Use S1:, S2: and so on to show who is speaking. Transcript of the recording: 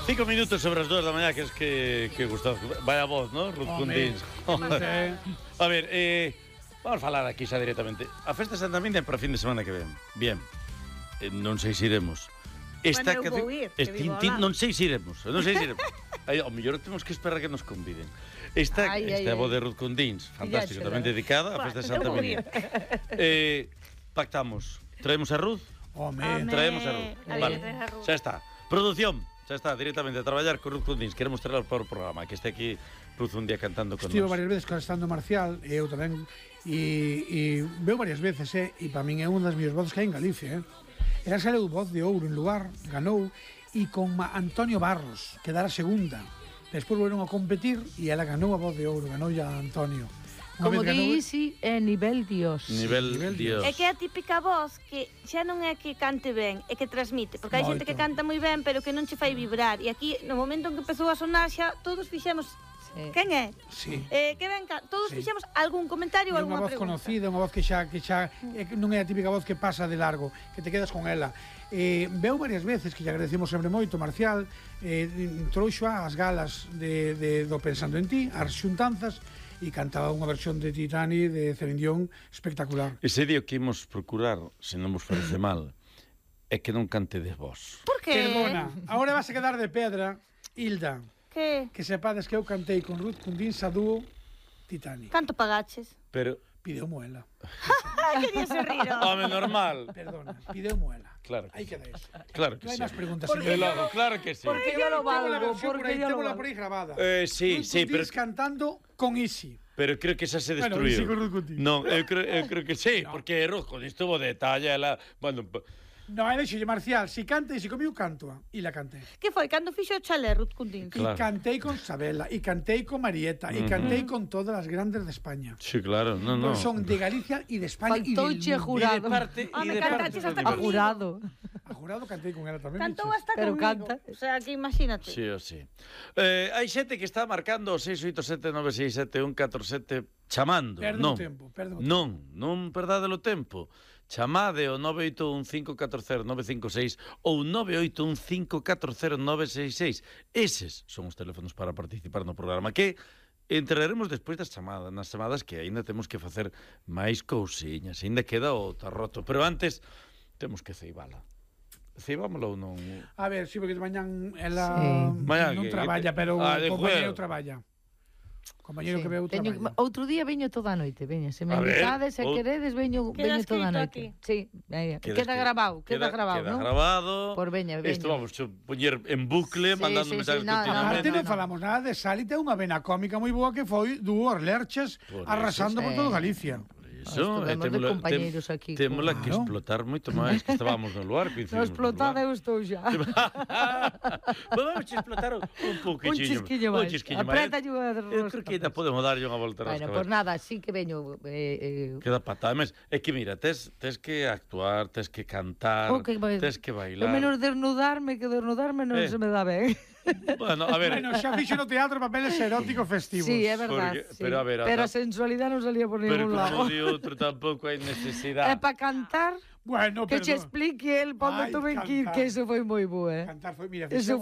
S1: 5 minutos sobre as 2 da mañá, que es que Gustavo... Vaya voz, ¿no? Ruth Cundins. A ver, vamos a falar aquí xa directamente. A festa de Santa Minia para fin de semana que ven. Bien. Non sei se iremos.
S2: Esta bueno, eu vou ir, que vivo ao lado.
S1: Non sei se iremos. Ao mellor temos que esperar que nos conviden. Esta é a voz de Ruth Cundins, fantástico, tamén dedicada á festa de Santa Minia. Pactamos. Traemos a Ruth?
S3: Home.
S1: Traemos a Ruth. Vale, xa está. Produción, xa está, directamente a traballar con Ruth Cundins. Queremos traer para o programa, que este aquí Ruth un día cantando con
S3: Estivo
S1: nós.
S3: varias veces cantando Marcial, e eu tamén, e veo varias veces, e para min é unha das miñas voces que hai en Galicia, Ela saleu voz de ouro en lugar, ganou, e con Antonio Barros, que dara segunda. Despois volveron a competir, e ela ganou a voz de ouro, ganou ya Antonio.
S4: Como dixi, é nivel Dios.
S1: Nivel Dios.
S2: É que é a típica voz que xa non é que cante ben, é que transmite. Porque hai xente que canta moi ben, pero que non che fai vibrar. E aquí, no momento en que empezou a sonar, xa todos fixemos... Quen é?
S3: Sí.
S2: Que ben, todos fixemos algún comentario ou alguna pregunta.
S3: É unha voz conocida, unha voz que xa non é a típica voz que pasa de largo, que te quedas con ela. Veu varias veces, que lle agradecemos sempre moito, Marcial, trouxo as galas do Pensando en Ti, as xuntanzas, e cantaba unha versión de Titani de Celine Dion espectacular.
S1: Ese día que imos procurar, se non vos parece mal, é que non cantedes vos.
S2: Por que?
S3: Perdona, agora vas a quedar de pedra, Hilda.
S2: Que
S3: sepades que eu cantei con Ruth Cundins a dúo Titanic.
S2: Canto pagaches?
S1: Pero...
S3: Pideu-mo ela.
S2: Quería se rir.
S1: Home, normal.
S3: Perdona, pideu-mo ela.
S1: Claro.
S3: Aí queda eso.
S1: Claro que
S3: non hai
S1: sí.
S3: máis preguntas.
S1: Claro que sí.
S4: Porque yo lo valgo.
S3: Témola por aí grabada.
S1: Sí, pero...
S3: cantando con Isi.
S1: Pero creo que xa se destruiu.
S3: Bueno, con Ruth Cundins.
S1: Non, eu creo que sí, porque Ruth Cundins tuvo detalle, ela... Bueno...
S3: No, é deixolle Marcial, si canta e si comiu cantoa. E la cantei.
S2: Que foi? Cando fixo o chalé, Ruth Cundins?
S3: Claro. E cantei con Sabela, e cantei con Marieta, e cantei con todas as grandes de España.
S1: Sí, claro, no.
S3: Son de Galicia e de España.
S4: Faltouche jurado.
S2: Me cantaches hasta
S4: a jurado.
S3: A jurado cantei con ela tamén.
S2: Cantou hasta
S4: pero
S2: comigo.
S4: Canta.
S2: O sea, que imagínate.
S1: Sí, sí. Hai xente que está marcando 687967147 chamando.
S3: Perdo o tempo.
S1: Non perdade o tempo. Chamade o 981-540-956 ou 981-540-966. Eses son os teléfonos para participar no programa, que entraremos despois das chamadas, nas chamadas que aínda temos que facer máis cousiñas, aínda queda o tarroto, pero antes temos que ceibala. Ceibámosla ou non?
S3: A ver, sí, porque mañán ela non traballa, pero o compañero traballa. Compañero que veu traballa.
S4: Outro día veño toda a noite, veña, se me invitades, se queredes, veño toda a noite. Sí, queda grabado, ¿no?
S1: Queda grabado.
S4: Por veña.
S1: Isto vamos a poñer en bucle, mandando mensajes continuamente.
S3: Non falamos nada de Salite, unha vena cómica moi boa que foi Dúos Lerches arrasando por todo Galicia.
S1: Eso, témola que explotar moito máis, que estábamos no lugar.
S4: No explotada eu estou xa.
S1: Vamos a explotar un poquinho.
S4: Un chisquiño máis. Apreta yo a
S1: eu creo que ainda podemos darlle unha volta a
S4: rosca. Bueno, pues nada, sí que veño...
S1: Queda patada. É que mira, tes que actuar, tes que cantar, tes que bailar.
S4: O menos desnudarme, que desnudarme non se me dá ben.
S1: Bueno, a ver...
S3: Bueno, xa fixo no teatro papeles eróticos festivos.
S4: Sí, é verdad.
S1: Pero a ver...
S4: Pero a sensualidade non salía por ningún lado.
S1: Outro tampouco hai necesidade.
S4: É para cantar,
S3: bueno,
S4: que che explique el para onde tuve que ir, que eso foi moi bo,
S3: Cantar foi, mira,